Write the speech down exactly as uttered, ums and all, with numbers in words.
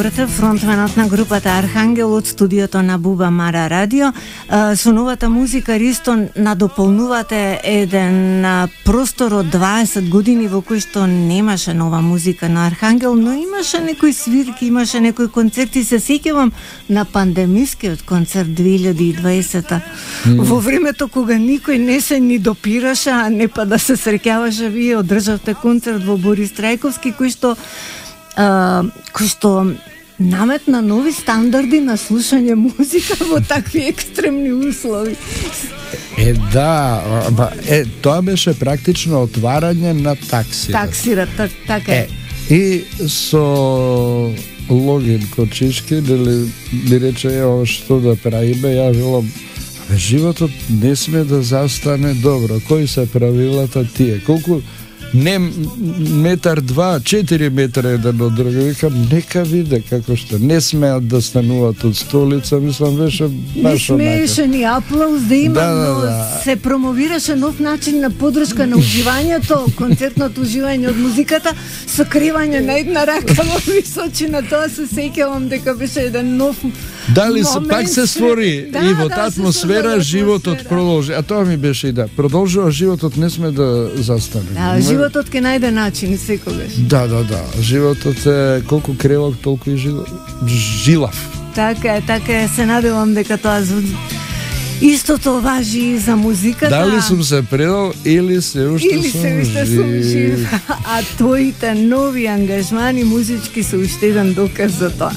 Фронтменот на групата Архангел од студиото на Буба Мара Радио. Со новата музика Ристо надополнувате еден простор од дваесет години во кој што немаше нова музика на Архангел, но имаше некои свирки, имаше некои концерти. Се сеќавам на пандемискиот концерт две илјади и дваесета. Mm. Во времето кога никој не се ни допираше, а не па да се среќаваше, вие одржавте концерт во Борис Трајковски, кој што Uh, кој што наметна нови стандарди на слушање музика во такви екстремни услови. Е, да, ба, е, тоа беше практично отварање на таксира. Таксира, так, така е. е. И со Логин Кочишки, дали ми рече, ево што да правиме, ја велам, абе, животот не сме да застане добро. Кои се правилата тие? Колку не метар, два, четири метра еден од друг. Викам, нека виде како што не смеат да стануваат од столица, мислам, беше баш онака. Не смееше ни аплауз да има, да, да, да. Но се промовираше нов начин на подршка на уживањето, концертното уживање од музиката, со кривање на една рака во височина. Тоа се сеќавам дека беше еден нов Дали се пак се створи да, и во таа да, атмосфера животот продолжи. А тоа ми беше и да. Продолжува животот, не сме да застане. Да, животот ќе најде начин секогаш. Да, да, да. Животот е колку кревок, толку и жилав. Така е, така е. Се надевам дека тоа истото важи и за музиката. Дали сум се предал или се уште или сум се уште жив. сум жив. А твоите нови ангажмани музички се уште еден доказ за тоа.